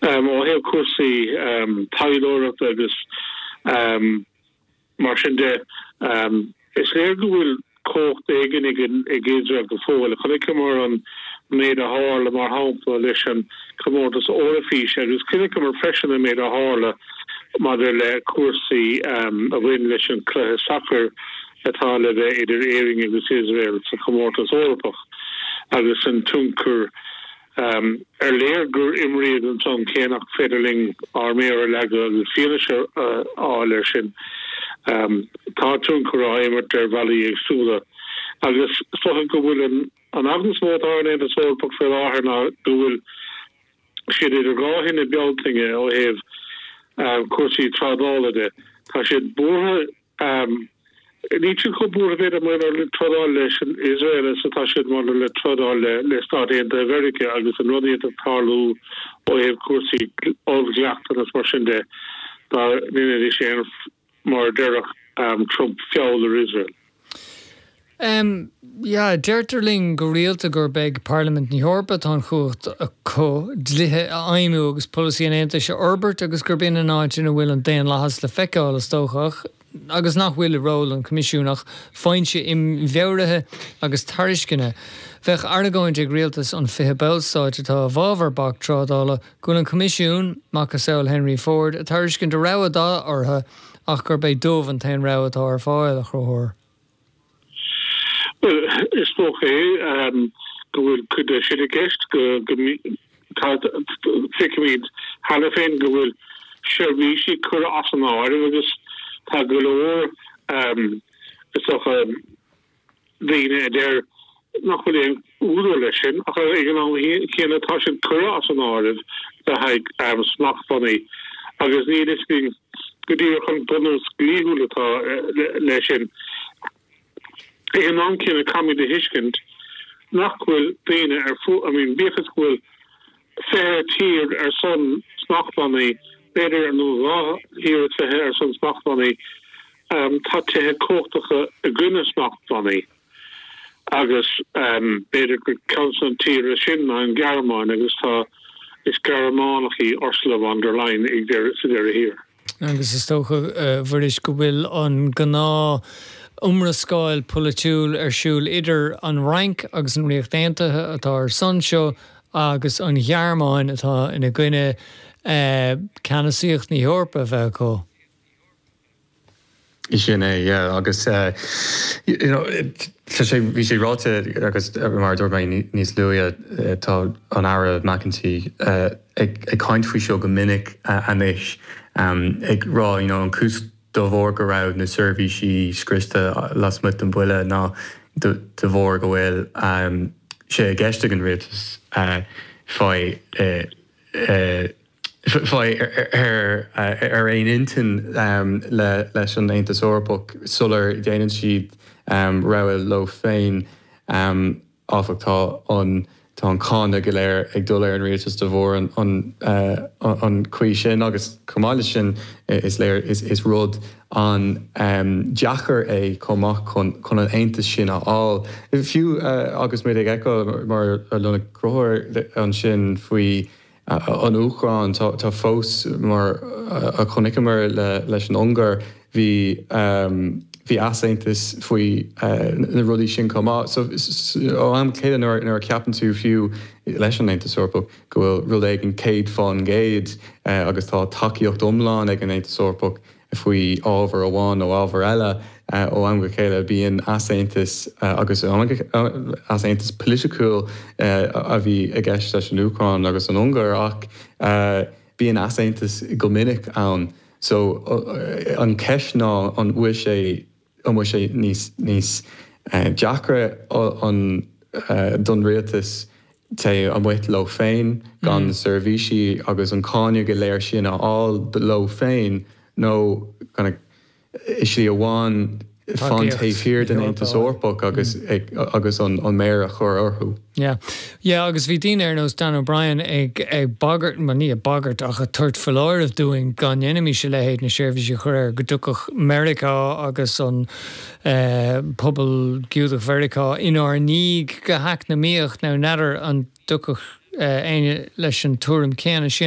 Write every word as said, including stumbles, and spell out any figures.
Ó thaobh cúrsaí taidhleoireachta agus mar sin de, is léir go bhfuil cumhacht éigin ag Iosrael go fóill. Chonaiceamar an méid a tharla, mar shampla, leis an chomórtas Eoraifíse agus chonaiceamar freisin an méid a tharla maidir le cúrsaí a bhain leis an chluiche sacair atá le bheith idir Éirinn agus Iosrael sa chomórtas Eorpach agus an tionchar ar léir gur imríodh ansan, cé nach féidir linn ár méar a leagadh agus fianaise a fháil air sin. Tá tionchar á imirt ar bhealaí éagsúla agus is dócha go bhfuil an an eagla is mó atá ar an Aontas Eorpach faoi láthair ná go bhfuil siad idir dhá thine Bealtaine ó thaobh cúrsaí trádála de. Tá siad buartha. Níl siad chomh buartha, b'fhéidir, maidir le trádáil leis an Iosrael is atá siad maidir le trádáil le Stáit Aontaithe Mheiriceá agus an rud a d'fhéadfadh tarlú ó thaobh cúrsaí oll-dhleachtanna is mar sin de dá ndéanfaidís aon, mar a déarfadh Trump, feall ar Iosrael. Um, yeah, deirtear linn go rialta gurb ag Parlaimint na hEorpa atá an chumhacht acu dlíthe a fheidhmiú agus polasaí an Aontais a fhorbairt agus gurb in an áit ina bhfuil an daonlathas le feiceáil, is dócha, agus nach bhfuil i ról an Choimisiúin ach foinse imfhabhraithe agus tairisceana. Bheadh argóint ag rialtais an fiche ballstáit atá i bhfabhar bac trádála go bhfuil an Coimisiún, macasamhail Henry Ford, ag tairiscint a rogha dá orthu ach gurb é dubh an t-aon rogha atá ar fáil, a Chonchúir. Well, is dócha é go bhfuil cuid de sin i gceist, go feicimid cheana féin go bhfuil seirbhísí curtha as an áireamh agus tá go leor, is dócha, daoine a deir nach bhfuil aon údar leis sin, ach ag an am céanna tá siad curtha as an áireamh le haghaidh smachtbhannaí agus níl fhios againn go díreach an bunús dlíthiúil atá leis sin. Ag an am céanna caithfimid a thuiscint nach bhfuil daoine ar fud, I mean, bíodh is go bhfuil fiche tír ar son smachtbhannaí, b'fhéidir, nó dhá thír is fiche ar son smachtbhannaí, tá tithe cumhachtacha i gcoinne smachtbhannaí agus b'fhéidir gur ceann de na tíortha sin ná an Ghearmáin agus tá, is Gearmánach í Ursula von der Leyen sa deireadh thiar. Agus is dócha, a Mhuiris, go bhfuil an gnáth iomrascáil polaitiúil ar siúl idir an Fhrainc agus an Ríocht Aontaithe atá ar son seo agus an Ghearmáin atá ina gcoinne ceannasaíocht na hEorpa a bheith acu. Sin é, yeah, agus you know, tá sé bhí sé ráite agus mar dúirt mé níos luaithe, tá an Aire McEntee ag ag caint faoi seo go minic anois, ag rá you know, an cúis de bharr go raibh na seirbhísí scriosta lasmuigh den bhuille ná de bharr go bhfuil sé i gceist ag an rialtas faoi faoi ar ar aon intinn leis an Aontas Eorpach sular déanann siad rogha leo féin. Áfach, tá an tá an cáineadh go léir ag dul ar an rialtas de bharr an an an chaoi sin agus chomh maith leis sin is léir is is rud an-deacair é chomh maith chun chun an aontas sin a fháil. Fiú agus muid ag feiceáil, mar a luaigh Conchúr ansin faoi an Úcráin, tá fós, mar a chonaiceamar leis an Ungáir, bhí bhí easaontas faoi na rudaí sin chomh maith. So ó am go chéile nuair a ceapann tú, fiú leis an Aontas Eorpach, go bhfuil rud éigin céad faoin gcéad agus tá tacaíocht iomlán ag an Aontas Eorpach faoi ábhar amháin nó ábhar eile, ó am go chéile bíonn easaontas, agus easaontas polaitiúil a bhí i gceist leis an Úcráin agus an Ungáir, ach bíonn easaontas go minic ann. So an cheist ná an bhfuil sé an bhfuil sé níos níos deacra an don rialtas taobh amuigh leo féin gan na seirbhísí agus an cáineadh go léir sin a fháil leo féin nó kind of slí amháin fan taobh thiar den Aontas Eorpach agus agus an an méar a chur orthu? Yeah. Yeah, agus bhí daoine ar nós Dan O'Brien ag ag bagairt, ma ní ag bagairt ach ag tabhairt foláireamh dúinn dá ndéanfaimis a leithéid, na seirbhísí a chur air, go dtiocfadh Meiriceá agus an eh, pobal Giúdach Mheiriceá inár ndiaidh go heacnamaíoch. Now n'fheadar an dtiocfadh eh, éinne leis an tuairim céanna sin.